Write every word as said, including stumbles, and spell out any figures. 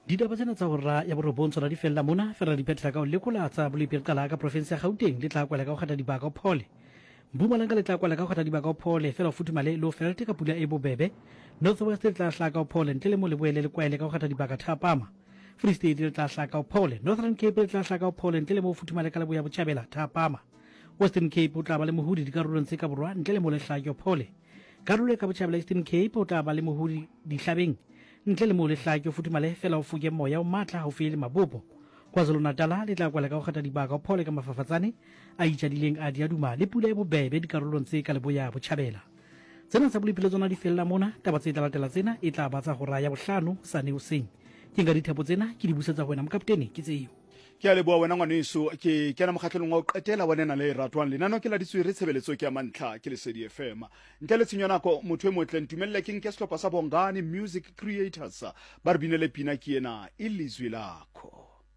Ditaba tsena tsa hora ya borobong tsona di fella mona, fela di phethela ka ho lekola tsa bolepi re qala ka profense ya Gauteng le tla kwala ka ho kgetha dibaka ho phole. Mpumalanga le tla kwala ka ho kgetha dibaka ho phole fela ho futhumale le ho felte ka pula e bobebe. North West le tla hlaka ho phole ntle le mo leboele le kwaele ka ho kgetha dibaka thapama. Free State le tla hlaka ho phole. Northern Cape le tla hlaka ho phole ntle le mo ho futhumale ka leboya botjhabela thapama. Western Cape o tla ba le mohudi dikarolong tse ka borwa ntle le mo le hlake ho phole. Karolo e ka botjhabela Eastern Cape o tla ba le mohudi dihlabeng ntle le moo le hlake o futhumale fela o foke moya o matla haufi le mabopo. KwaZulu-Natal le tla kwala ka go kgetha dibaka o phole ka mafafatsane a itšadileng a diaduma le pula e bobebe dikarolong tse ka leboya botjhabela. Tsena tsa bolepi le tsona di fella mona. Taba tse tla latela tsena e tla ba tsa hora ya bohlano hosane hoseng. Ke nka dithapo tsena ke di busetsa ho wena mokaptene ke tseo. Ke a leboha wena ngwaneso. Ke kena mokgahlelong wa ho qetela wa lena le ratwang. Lenaneo ke la ditswere, tshebeletso ke ya mantlha, ke Lesedi F M. Ntle le tshenyo ya nako, motho e motle, ntumelle ke nke sehlopha sa Bongani Music Creators. Ba re binele pina ke ena, Ilizwi Lakho.